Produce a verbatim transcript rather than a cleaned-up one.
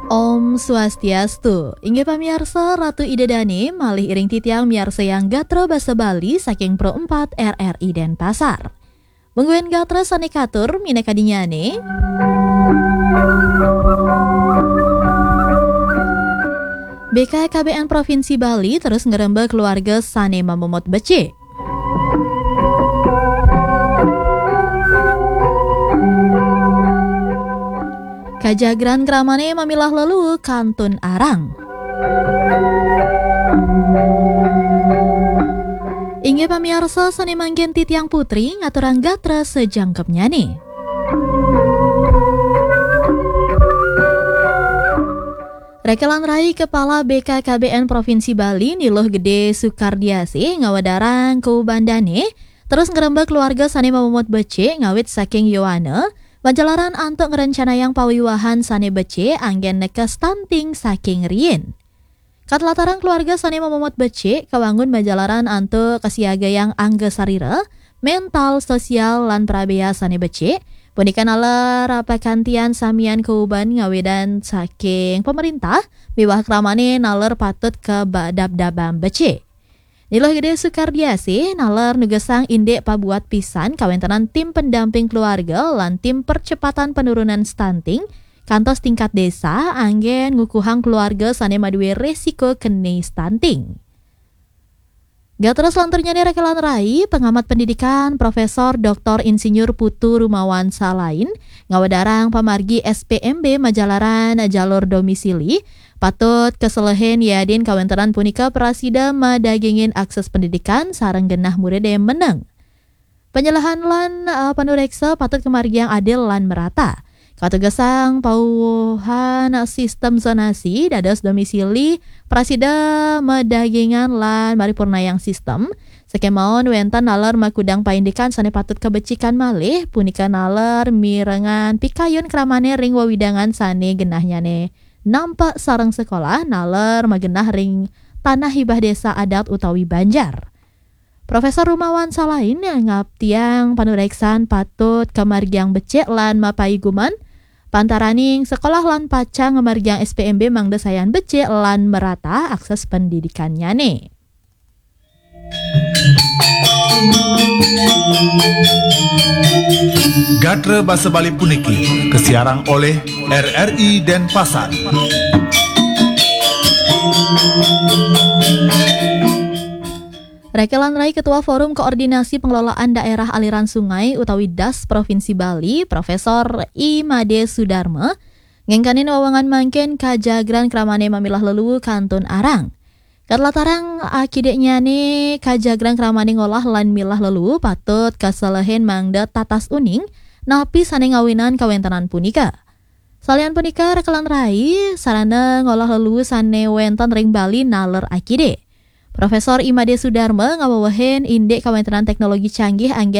Om Swastiastu. Inggih pamiarsa, Ratu Ida Dane malih iring titiang miarsayang gatra basa Bali saking Pro empat R R I Denpasar. Mungguing gatra sane katur minakadinnyane. B K K B N Provinsi Bali terus ngrembak keluarga sane mamomot becik. Kajagran kramane mamilah leluu kantun arang. Inggih pamiarsa, sane mangkin titiang putri ngaturang gatra sajangkepnyane. Rekelan rai Kepala B K K B N Provinsi Bali Niluh Gede Sukardiasih ngawedarang kaubandane terus ngrembak keluarga sane mamomot becik ngawit saking yowana, majalaran antuk ngrencanayang pawiwahan sane becik anggen neka stunting saking riin. Katlatarang keluarga sane mamomot becik kawangun majalaran antuk kasiagayang angga sarira, mental, sosial, lan prabea sane becik, punika naler pakantian samian kauban ngawidan saking pemerintah miwah kramane naler patut kabadabdabang becik. Niluh Gede Sukardiasih naler nugesang indik pabuat pisan kawentenan tim pendamping keluarga lan tim percepatan penurunan stunting kantos tingkat desa anggen ngukuhang keluarga sane madue resiko keni stunting. Gatra selanturnyane rekelan rai, pengamat pendidikan Profesor Doktor Insinyur Putu Rumawan Salain ngawedarang pamargi S P M B majalaran jalur domisili patut keselehin yadin kawentenan punika prasida madagingin akses pendidikan sareng genah muride meneng. Penyelehan lan, eh, panureksa patut kamargiang adil lan merata. Katugesang pauhan sistem zonasi dados domisili prasida madagingan lan maripurnayang sistem. Sakemaon wenten naler makudang paindikan sane patut kabecikan malih, punika naler mirengan pikayun kramane ring wewidangan sane genahnyane nampak sareng sekolah, naler magenah ring tanah hibah desa adat utawi banjar. Profesor Rumawan Salain ngaptiang panureksan patut kamargiang becik lan mapaiguman, pantaraning sekolah lan pacang ngamargiang S P M B mangda sayan becik lan merata akses pendidikannyane. Gatra basa Bali puniki kasiarang oleh R R I Denpasar. Rekelan rai Ketua Forum Koordinasi Pengelolaan Daerah Aliran Sungai utawi das Provinsi Bali, Profesor I Made Sudarma, ngengkanin wewengan mangkin kajagran kramane mamilah leluu kantun arang. Katlatarang akidiknyane kajagran kramane ngolah lan milah leluu patut kaselehin mangda tatas uning napi sane ngawinan kawentenan punika. Salian punika, rekelan rai sarana ngolah leluu sane wenten ring Bali naler akidik. Profesor I Made Sudarma ngawewehin indik kawentenan teknologi canggih anggen